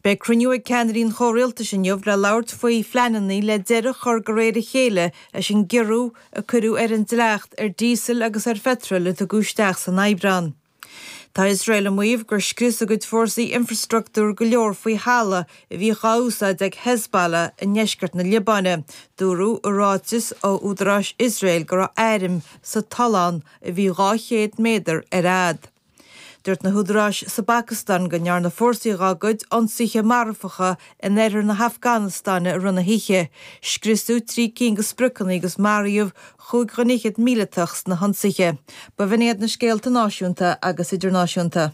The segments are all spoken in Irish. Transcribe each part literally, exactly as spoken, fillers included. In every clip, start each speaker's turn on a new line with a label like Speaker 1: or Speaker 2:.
Speaker 1: Beidh cruinniú ag ceannairí an chomhrialtais inniu le labhairt faoi phleananna le deireadh a chur de réir a chéile leis an gciorrú a cuireadh ar an dleacht ar díosal agus ar pheitreal a tugadh isteach san Aibreán. Tá Iosrael ag maíomh gur scrios a gcuid fórsaí infreastruchtúr go leor faoi thalamh a bhíodh á úsáid ag Hezbollah i ndeisceart na Liobáine. Dúradh i ráiteas ó údaráis Iosrael go raibh airm sa tollán a bhí dhá chéad méadar ar fhad. Dúirt na húdaráis sa bPacastáin go ndearna fórsaí dá gcuid ionsaithe marfacha in oirthear na hAfganastáine i rith na hoíche. Scriosadh trí cinn de spriocanna agus maraíodh chúig dhuine fhichead míleatach sna hionsaithe. B'in iad na scéalta náisiúnta agus idirnáisiúnta.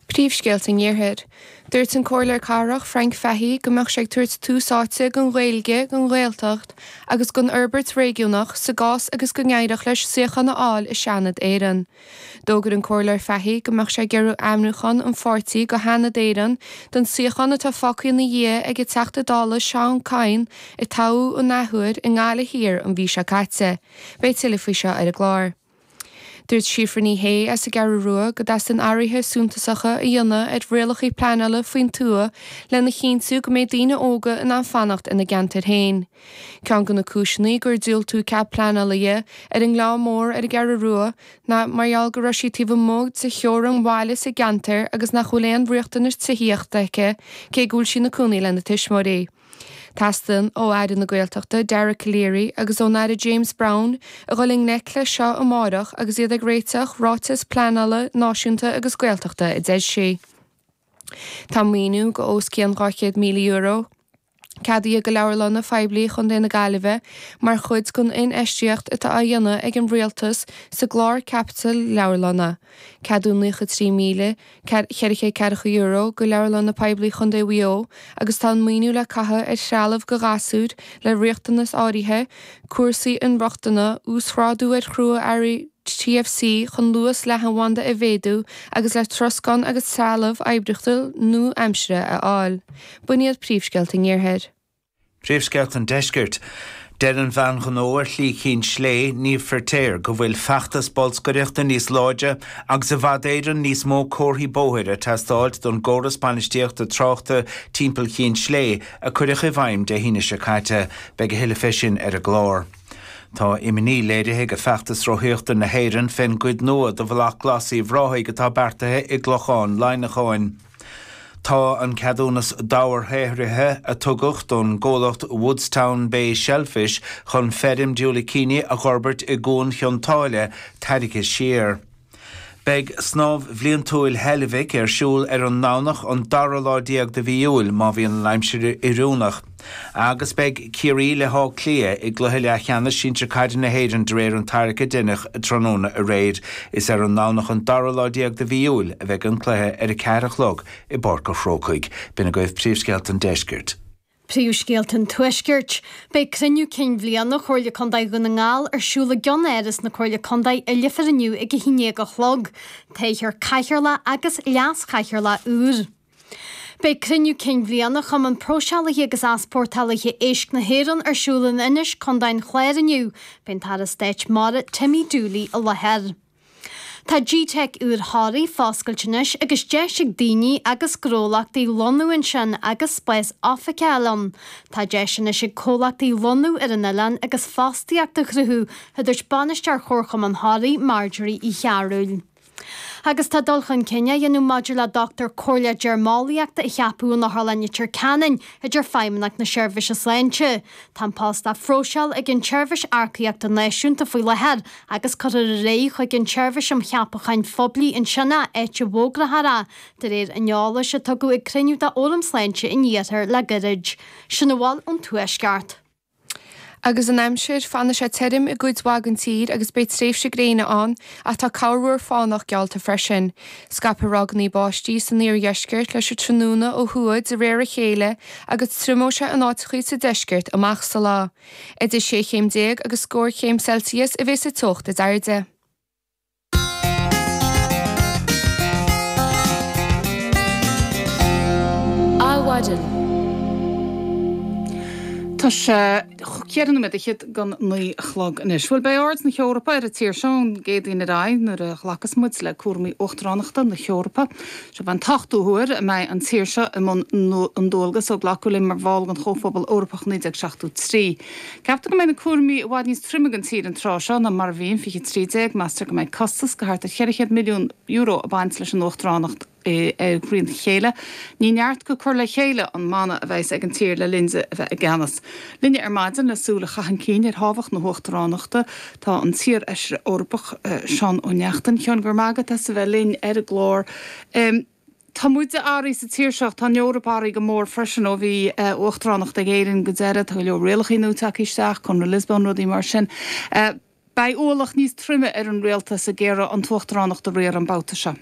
Speaker 2: Príomhscéalta an Iarthair. Dúirt an Comhairleoir Cathrach Frank Fahey go mbeadh sé ag tabhairt tús áite don Ghaeilge, don Ghaeltacht agus don fhorbairt réigiúnach sa gcás agus go n-éireodh leis suíochán a fháil i Seanad Éireann. D'fhógair an Comhairleoir Fahey go mbeadh sé ag iarraidh ainmniúchán an pháirtí go Sheanad Éireann don suíochán atá fágtha ina dhiaidh ag an Teachta Dála Seán Kyne a toghadh an athuair i nGaillimh Thiar an mhí seo caite. Beidh tuilleadh faoi seo ar an gclár. Dúirt Síofra Ní Shé as an gCeathrú Rua go dteastaíonn athruithe suntasacha a dhéanamh ar rialacha pleanála faoin tuath lena chinntiú go mbeidh daoine óga in ann fanacht ina gceantar féin. Ceann de na cúiseanna gur diúltaíodh cead pleanála di ar an nGleann Mór ar an gCeathrú Rua ná mar gheall go raibh sí taobh amuigh de theorainn bhaile sa gceantar agus nach bhfuil aon riachtanas tithíochta aici cé go bhfuil sí ina cónaí lena tuismitheoirí. Teastaíonn ó Aire na Gaeltachta Dara Calleary agus ón Aire James Browne a dhul i ngleic leis seo amárach agus iad ag réiteach ráiteas pleanála náisiúnta agus Gaeltachta a deir sí. Tá maoiniú go os cionn dhá chéad míle euro ceadaithe go leabharlanna phoiblí Chontae na Gaillimhe mar chuid den infheistíocht atá á dhéanamh ag an rialtas sa gclár caipitil leabharlanna. Ceadú naocha trí míle ceithre chéad ceathracha euro go leabharlanna poiblí Chontae Mhaigh Eo agus tá an maoiniú le caitheamh ar threalamh go ghasúir le riachtanas áirithe, cúrsaí inrochtana, uasghrádú ar chrua-earraí T F C chun luas leathanbhanda a mhéadú agus le troscán agus trealamh oibríochtúil nua-aimsire a fháil. B'in iad príomhscéalta an Iarthair.
Speaker 3: Príomhscéalta an Deiscirt. Deir an bhean ghnó ar Shlí Chinn Slé, Niamh Feirtéar, go bhfuil feachtas bolscaireachta níos láidre agus i bhfad Éireann níos mó comharthaí bóthair ag teastáil don gcóras bainistíochta tráchta timpeall Chinn Slé a cuireadh i bhfeidhm Dé hAoine seo caite. Beidh a thuilleadh fé sin ar an gclár. Tá imní léirithe ag feachtas rothaíochta na hÉireann fén gcuid nua de Bhealach Glas Uíbh Ráthaigh atá beartaithe i gClochán Laighneacháin. Tá an ceadúnas dobharshaothraithe a tugadh don gcomhlacht Woodstown Bay Shellfish chun feirm diúilicíní a fhorbairt i gCuan Chionn tSáile tarraingthe siar. Beidh snámh bhliantúil Heilbhic ar siúl ar an nDomhnach an dara lá déag de mhí Iúil má bhíonn an aimsir oiriúnach. Agus beidh Ciarraí le hÁth Cliath i gcluiche leathcheannais sinsir caide na hÉireann de réir an tarrac a deineadh tráthnóna aréir. Is ar an nDomhnach an dara lá déag de mhí Iúil a bheidh an cluiche ar a ceathair a chlog i bPáirc an Chrócaigh. B'in agaibh príomhscéalta an Deiscirt.
Speaker 4: Príomhscéalta an Tuaiscirt. Beidh cruinniú cinn bhliana Chomhairle Contae Dhún na nGall ar siúl i gceannáras na Comhairle Contae i Leifear inniu ag a haon déag a chlog. Toghfar cathaoirleach agus leas-chathaoirleach úr. Beidh cruinniú cinn bhliana Chumann Próiseálaithe agus Easpórtálaithe Éisc na hÉireann ar siúl in Inis, Contae an Chláir inniu. Beidh an tAire Stáit Mara Timmy Dooley i láthair. Tá G-Tech úr Thoraí foscailte anois agus deis ag daoine agus gnólachtaí lonnú ansin agus spás oifige ann. Tá deis anois ag comhlachtaí lonnú ar an oileán agus fostaíocht a chruthú, a dúirt bainisteoir Chomharchumann Thoraí Marjorie Uí Chearúil. Agus tá dul chun cinn á dhéanamh maidir le dochtúir comhairle deirmeolaíochta a cheapadh in Otharlann Leitir Ceanainn idir Feidhmeannacht na Seirbhíse Sláinte. Tá an post á phróiseáil ag an tSeirbhís Earcaíochta Náisiúnta faoi láthair agus cuirfear ar aghaidh chuig an tSeirbhís um Cheapacháin Phoiblí ansin é, áit a bhfógrófar é, de réir an eolais a tugadh ag cruinniú de Fhóram Sláinte an Iarthair le gairid. Sin a bhfuil ón Tuaisceart.
Speaker 2: Agus an aimsir, fanfaidh sé tirim i gcuid mhaith den tír agus beidh tréimhse gréine ann ach tá corrmhúr fánach geallta freisin. Scaipfidh ráigeanna báistí san iardheisceart leis an tráthnóna ó thuaidh de réir a chéile agus triomóidh sé in áiteachaí sa deisceart amach sa lá. Idir sé chéim déag agus scór chéim Celsius a bheas sa teocht is airde.
Speaker 5: Adhmhaidin.
Speaker 6: Tá
Speaker 5: Tá sé ceithre nóiméad fhichead don naoi a chlog anois. Bhuel beidh aird na hEorpa ar an tír seo ón gCéadaoin ar aghaidh nuair a ghlacas muid le cúraimí uachtaránachta na hEorpa. Seo an t-ochtú huair a mbeidh an tír seo i mbun an dualgas ó glacadh linn mar bhall den Chomhphobal Eorpach naoi déag seachtó trí. Ceaptar go mbeidh na cúraimí i bhfad níos troime don tír an tráth seo ná mar a bhí in fiche trí déag. Meastar go mbeidh costas de thart ar cheithre chéad milliún euro ag baint leis an uachtaránacht. i gcroí a chéile. Ní neart go cur le chéile an mana a bheas ag an tír le linn di a bheith i gceannas. Linne ar maidin le súil a chaitheamh chun cinn ar thábhacht na huachtaránachta tá an t-iarfheisire Eorpach Seán Ó Neachtain. Sheáin, go raibh maith agat as a bheith linn ar an gclár. Tá muide athraithe sa tír seo, tá an Eoraip athraithe go mór freisin ó bhí uachtaránacht ag Éirinn go deireadh, tá go leor rialacha nua tagtha isteach, Conradh Lisbon, rudaí mar sin. Beidh ualach níos troime ar an rialtas ag iarraidh an t-uachtaránacht a riar an babhta seo.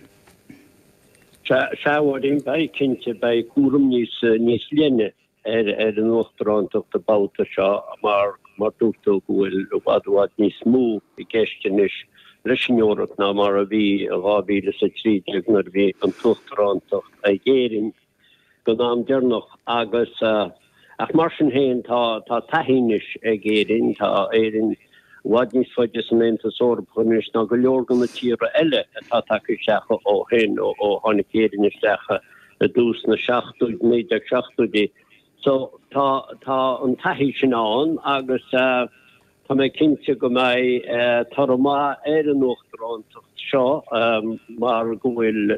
Speaker 6: Sea, a Mháirín, beidh, cinnte, beidh cúram níos, níos leithne ar, ar an uachtarántacht an babhta seo mar, mar dúirt tú go bhfuil i bhfad, i bhfad níos mó i gceist anois leis an Eoraip ná mar a bhí i dhá mhíle is a trí déag nuair a bhí an t-uachtarántacht ag Éirinn don am deireanach agus, Ach mar sin féin, tá taithí anois ag Éirinn, tá Éirinn i bhfad níos faide san Aontas Eorpach anois ná go leor de na tíortha eile atá tagtha isteach ó shin, ó tháinig Éirinn isteach i dtús na seachtóidí, naoi déag seachtóidí. So tá tá an taithí sin ann agus tá mé cinnte go mbeidh toradh maith ar an uachtarántacht seo mar go bhfuil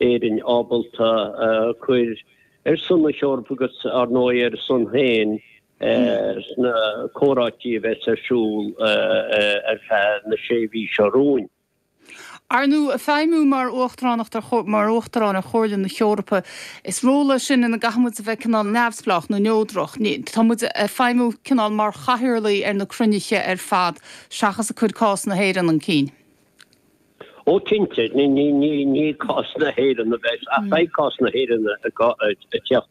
Speaker 6: Éirinn ábalta cur ar son na hEorpa agus, ar ndóigh, ar a son féin sna comhráití a bheas ar siúl ar feadh na sé mhí seo romhainn.
Speaker 5: Ar ndóigh, feidhmiú mar uachtaránacht ar mar uachtarán ar Chomhairle na hEorpa, is ról é sin ina gcaithfidh muid a bheith cineál neamhspleách nó neodrach. Tá muid ag feidhmiú cineál mar chathaoirligh ar na cruinnithe ar fad seachas ag cur cás na hÉireann chun cinn.
Speaker 6: Ó cinnte, ní cás na hÉireann a bheas, ach beidh cás na hÉireann ag teacht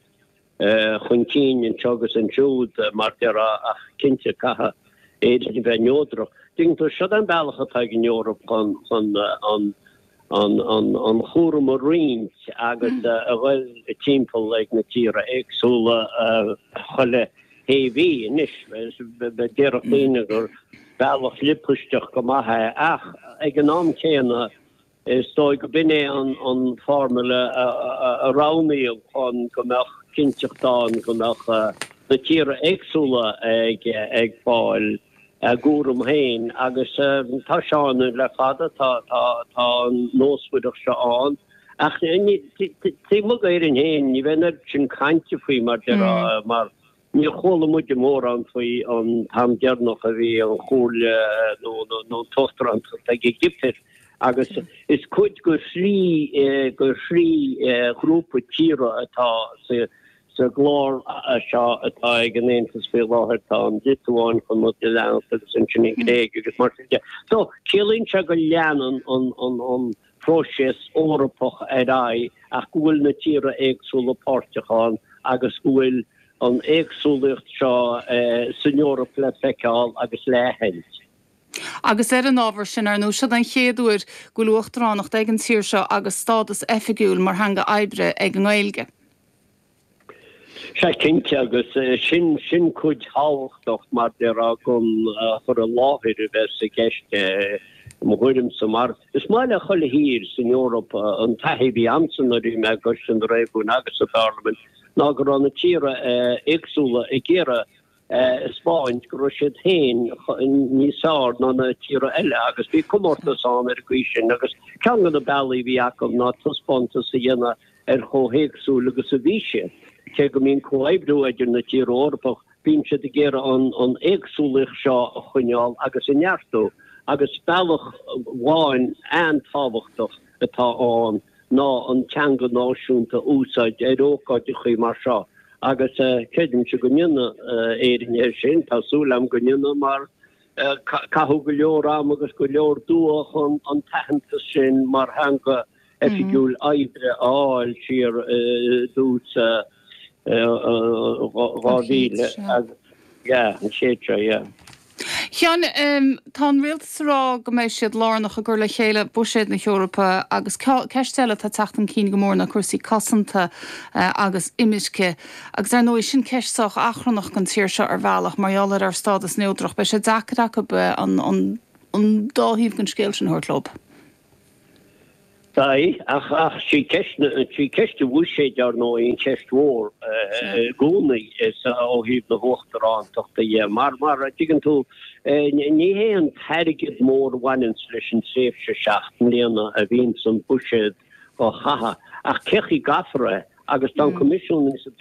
Speaker 6: chun cinn anseo agus ansiúd, mar déarfá, ach cinnte caithfidh Éirinn a bheith neodrach. Tuigeann tú, seo an bealach atá ag an Eoraip chun an chúram a roinnt agus a dhul timpeall ag na tíortha éagsúla chuile shé mhí anois. Déarfadh daoine gur bealach liopaisteach go maith é ach ag an am céanna is dóigh go b'in é an formula a roghnaíodh chun go mbeadh cinnteacht ann go mbeadh na tíortha éagsúla ag fáil a gcúram féin agus tá sé ann le fada, tá an nósmhaireacht seo ann ach taobh amuigh d'Éirinn féin ní bheidh an oiread sin cainte faoi mar déarfá mar Níor chuala muide mórán faoi an t-am deireanach a bhí an Chomhairle nó an t-uachtarántacht ag an gCipir agus is cuid de thrí de thrí ghrúpa tíortha atá sa gclár seo atá ag an Aontas faoi láthair, tá an Liotuáin chun muid a leanacht agus ansin an Ghréig agus mar sin de. So, ciallaíonn sé go leanann an próiseas Eorpach ar aghaidh ach go bhfuil na tíortha éagsúla páirteach ann agus go bhfuil an éagsúlaíocht seo san Eoraip le feiceáil agus le haithint.
Speaker 5: Agus ar an ábhar sin, ar ndóigh, seo an chéad uair go bhfuil uachtaránacht ag an tír seo agus stádas oifigiúil mar theanga oibre ag an nGaeilge.
Speaker 6: Sea, cinnte, agus sin, sin cuid thábhachtach, mar déarfá, den chur i láthair a bheas i gceist, i mo thuairimse, mar is maith le chuile thír san Eoraip an taithí a bhí a'msa nuair a bhí mé i gCoiste na Réigiún agus sa Pharlaimint, ná go raibh na tíortha éagsúla ag iarraidh a 'speáint go raibh siad féin níos fearr ná na tíortha eile agus bhí comórtas ann ar an gcaoi sin agus ceann de na bealaí a bhí acu ná taispeántas a dhéanamh ar chomh héagsúil agus a bhí siad. Cé go mbíonn comhoibriú idir na tíortha Eorpach, bíonn siad ag iarraidh an éagsúlaíocht seo a choinneáil agus a neartú agus bealach amháin an-tábhachtach atá ann ná an teanga náisiúnta a úsáid ar ócáideachaí mar seo agus creidimse go ndéanfaidh Éirinn é sin, tá súil agam go ndéanfaidh mar caitheadh go leor ama agus go leor dua chun an t-aitheantas sin mar theanga oifigiúil oibre a fháil siar i dtús dhá mhíle, yeah, an chéid seo, yeah.
Speaker 5: A Sheáin, tá an rialtas ag rá go mbeidh siad lárnach i gcur le chéile buiséad na hEorpa agus ceist eile atá ag teacht chun cinn go mór ná cúrsaí cosanta agus imirce. Agus ar ndóigh sin ceist sách achrannach don tír seo ar bhealach mar gheall ar ár stádas neodrach. Beidh sé deacair acu an an dá thaobh den scéal sin a thabhairt leo.
Speaker 6: Beidh, ach ach sí ceist na, sí ceist an bhuiséid ar ndóigh an cheist mhór i gcónaí is ó thaobh na huachtarántachta dhe. Mar, mar a dtuigeann tú, ní hé an t-airgead mór a bhaineanns leis an tréimhse seacht mbliana a bhíonns an buiséad á chaitheamh, ach cé chaoi a gcaithfear é agus tá an Coimisiún ins an